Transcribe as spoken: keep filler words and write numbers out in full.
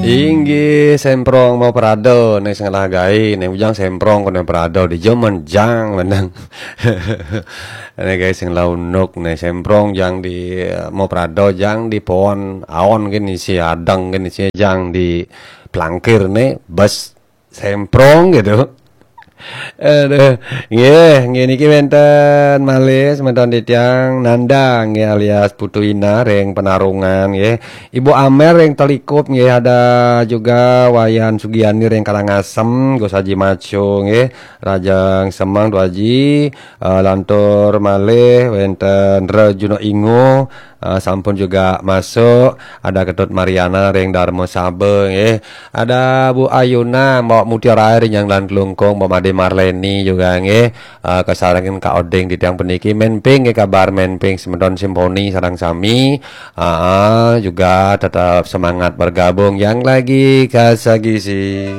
Inggih semprong mau parado né sing lah gaé, né bujang semprong kono parado di jaman jang menang. Né gaé sing lah unuk né semprong jang di eh, mau parado jang di pohon aon gini si adang gini si jang di plangkir né bes semprong gitu. Aduh, nggih, nggih niki wénten malih semeton titiang Nanda nggih alias Putu Ina ring Penarungan nggih. Ibu Amel ring Telikup nggih ada juga Wayan Sugiani ring Karangasem, Gus Haji Maco nggih, Rajang Semang Tu Haji, eh, lantur malih wénten Rejuno Ingo, eh, sampun juga masuk, ada Ketut Mariana ring Darma Saba nggih. Ada Bu Ayuna, Mbak Mutiara Air yang lan Klungkung, Mbak Made Marleni juga nggih. Eh, kasarengin Kak Oding di tiang puniki menping nggih kabar menping semeton simponi sareng sami. Ah, juga tetap semangat bergabung yang lagi kasagisi.